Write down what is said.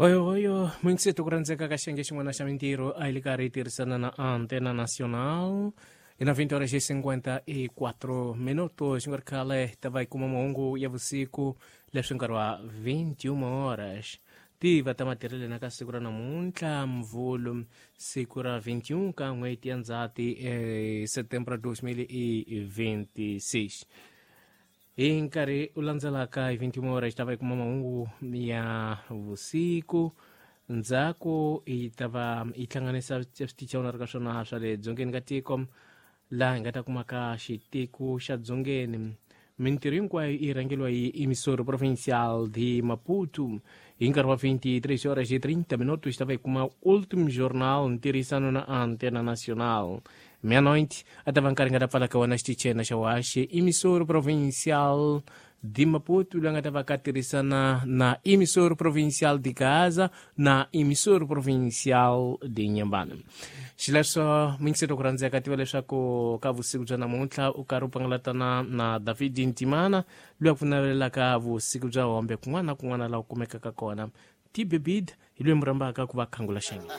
Hoyohoyo mingiseto ku rhandzeka ka xiyenge xin'wana xa mintirho a yi le karhi yi tirhisana na Antena Nacional hi na 20 horas e 54 minutos. Xi nga ri khale ta va yi kuma mahungu ya vusiku leswi nkarhi wa 21 horas tiva ta matirhelo na ka siku ra namuntlha Mvulu, siku ra 21 ka n'hweti ya Ndzhati, setembro 2026. Hi nkarhi u landzelaka hi 21 horas ta va yi kuma mahungu ya vusiku. Ndzhaku yi ta va yi hlanganisa switichi ri ka swona swa le dzongeni ka tiko, laha hi nga ta kumaka xitiko xa dzongeni. Mintirho hinkwayo yi rhangeriwa hi Emissora Provincial de Maputo. Hi nkarhi wa 23 horas e 30 minutos ta va yi kuma Último Jornal, ntirhisano na Antena Nacional. Meia-noite a ta va nkarhi nga ta pfala ka wona xitichena xa waxi Emissora Provincial de Maputo, loyi nga ta va ka tirhisana na Emissora Provincial de Gaza na Emissora Provincial de Nyambana. Xileswo mingiseto ku rhandzeka, tiva leswaku ka vusiku bya namuntlha u karhi u pangalatana na David Ntimana, loyi a ku navelelaka vusiku bya hombe kun'wana na kun'wana laha u kumekaka kona. Tibebid hi loyi mu rhambaka ku va khangula xenge.